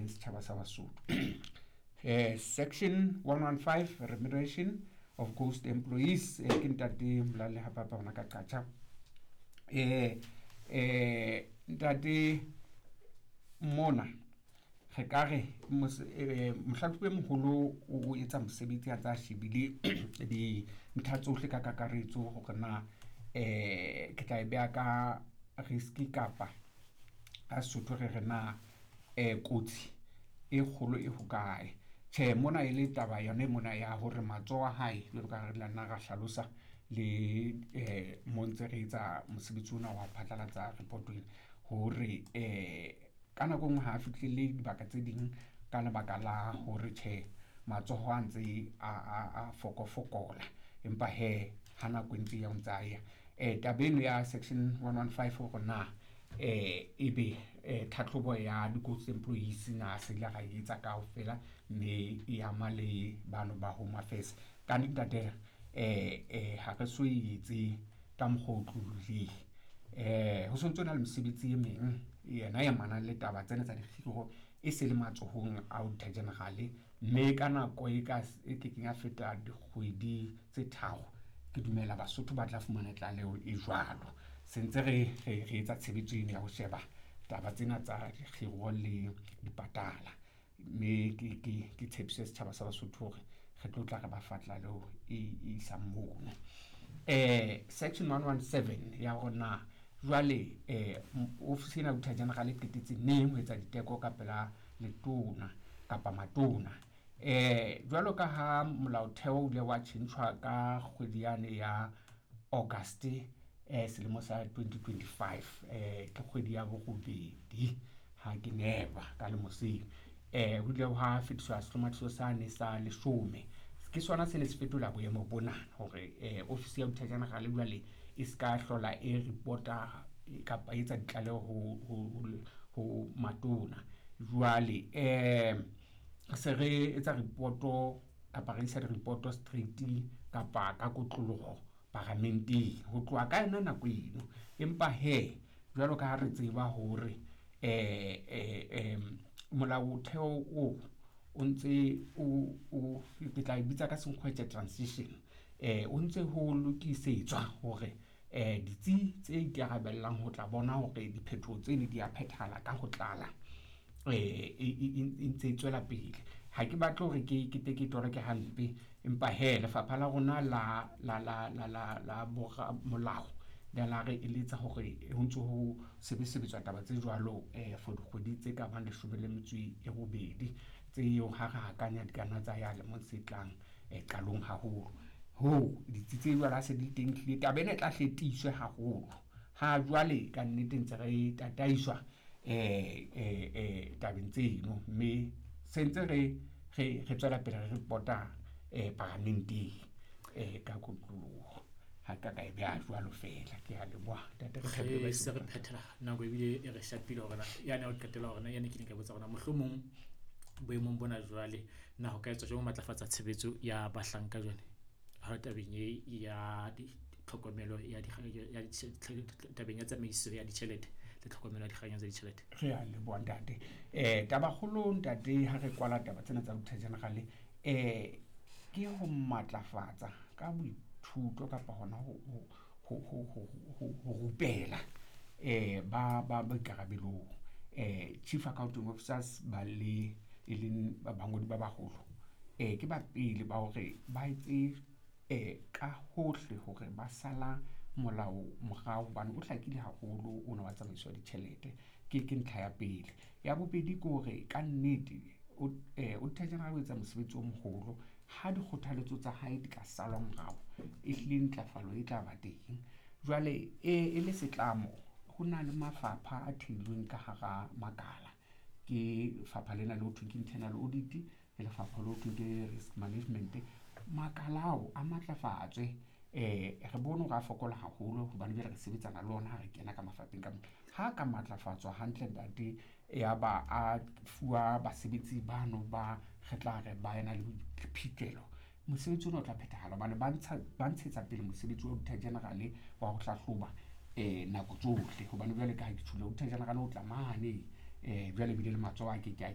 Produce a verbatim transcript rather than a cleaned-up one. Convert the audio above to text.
leng setjhaba sa Basotho. eh section one one five, remuneration of ghost employees, eh, ke ntate Molale Hapapa hona ka Qacha. Eh eh ntate mona re ka re mohlahlobi e moholo o etsa mosebetsi a tsa shebile dintlha tsohle ka kakaretso hore na eh ke tla e beha ka risk kapa ka Sesotho re re na eh kotsi e kgolo e hokae. Tjhe, mona e le taba yona mona ya hore matsoho a hae jwalo ka re la nna ra hlalosa le eh mo ntse re etsa mosebetsi ona wa phatlalatsa report ena hore eh ka nako enngwe ha a fihlelle dibaka tse ding ka lebaka la hore tjhe matsoho a ntse a a fokofokola, empa he ha nako e ntse ya o ntsa ya. Eh taba eno ya section one one five hore na eh ebe eh tlhatlhobo ya di-ghost employees na se ile ra etsa kaofela mme e ama le bano ba Home Affairs. Ka ntate eh eh ha re so etse ka mokgwa o otlolohileng. Eh ho sontso na le mesebetsi e meng yena e amanang le taba tsena tsa dikgiro e se le matsohong a Auditor General, mme ka nako e ka e kekeng ya feta dikgwedi tse tharo ke dumela Basotho ba tla fumana tlaleho e jwalo. Se ntse re re etsa tshebetso eno ya ho sheba taba tsena tsa dikgiro le dipatala, mme ke ke ke tshepise setjhaba sa Basotho hore re tlo tla re ba fa tlaleho e isang mono. Eh section one one seven ya hore na jwale eh ofisi ena ya Auditor General e qetetse neng ho etsa diteko ka pela letona kapa matona. Eh jwalo ka ha molaotheo o ile wa tjhentjhwa ka kgwedi yane ya August eh selemo sa twenty twenty-five, eh ke kgwedi ya borobedi ha ke nepa ka lemo seo. Eh ho ile hwa fetiswa sehlomathiso sane sa leshome, ke sona se ne se fetola boemo bona hore eh ofisi ya Auditor General jwale e ska hlola e reporta kapa e etsa ditlaleho ho ho ho matona. Jwale eh se re etsa reporto kapa re isa di-reporto straight kapa ka kotloloho paramenteng ho tloha ka yona nako eno. Empa he jwalo ka ha re tseba hore eh eh molaotheo o o ntse o o ke tla e bitsa ka senkgwetse transition, eh o ntse ho lokisetswa hore eh ditsi tse ikarabellang ho tla bona hore diphetoho tseno di a phethahala ka ho tlala eh e ntse e tswela pele. Ha ke batle hore ke ke te ke toloke hampe, empa he lefapha la rona la la la la la la bora molao le la re eletsa hore ho ntso ho sebesebetswa taba tse jwalo eh for dikgwedi tse ka bang leshome le metso e robedi tseo ha re hakanya di ka nna tsa ya lemong se tlang eh qalong haholo. Ho ditsi tse jwalo ha se di teng hlile taba ena e tla hle tiiswe haholo. Ha jwale ka nnete ntse re tataiswa eh eh eh tabeng tseno, mme se ntse re re re tswela pele re reporta eh paramenteng eh ka kotloloho. Ha ka ka e beha jwalo feela. Ke a leboha ntate, re thabile re se re phethela nako ebile e re shapile hore na yane ya ho qetela hore na yane ke ne ka botsa hore na mohlomong boemong bona jwale na ho ka etswa jwang ho matlafatsa tshebetso ya bahlanka jwale ha tabeng e ya tlhokomelo ya ya tabeng ya tsamaiso ya ditjhelete le tlhokomelo ya dikganyo tsa ditjhelete. Re a leboha ntate. Eh taba kgolo ntate ha re kwala taba tsena tsa Auditor General eh ke ho matlafatsa ka boithuto kapa hona ho ho ho ho ho rupela eh ba ba boikarabelong eh chief accounting officers ba le e leng bangodi ba baholo eh ke ba pele ba hore ba etse eh ka hohle hore ba sala molao morao hobane o hlakile haholo ona wa tsamaiso ya ditjhelete. Ke ke ntlha ya pele. Ya bobedi ke hore ka nnete o eh Auditor General o etsa mosebetsi o moholo ha dikgothaletso tsa hae di ka salwa morao e hlile ntlafalo e tla ba teng. Jwale e e le setlamo ho na le mafapha a theilweng ka hara makala, ke lefapha lena le ho thweng ke internal audit, ke lefapha le ho thweng ke risk management. Makala ao a matlafatswe eh re bone hore a fokola haholo hobane jwale re sebetsana le ona ha re kena ka mafapheng ka mona. Ha ka matlafatswa hantle ntate, ya ba a fuwa basebetsi bano ba re tla re ba ena le boiphihlelo, mosebetsi ona o tla phethahala hobane ba ntsha ba ntshetsa pele mosebetsi wa Auditor General wa ho hlahloba eh nako tsohle. Hobane jwale ka ha ke tjholo Auditor General o tla mane eh jwale ebile le matsoho a ke ke a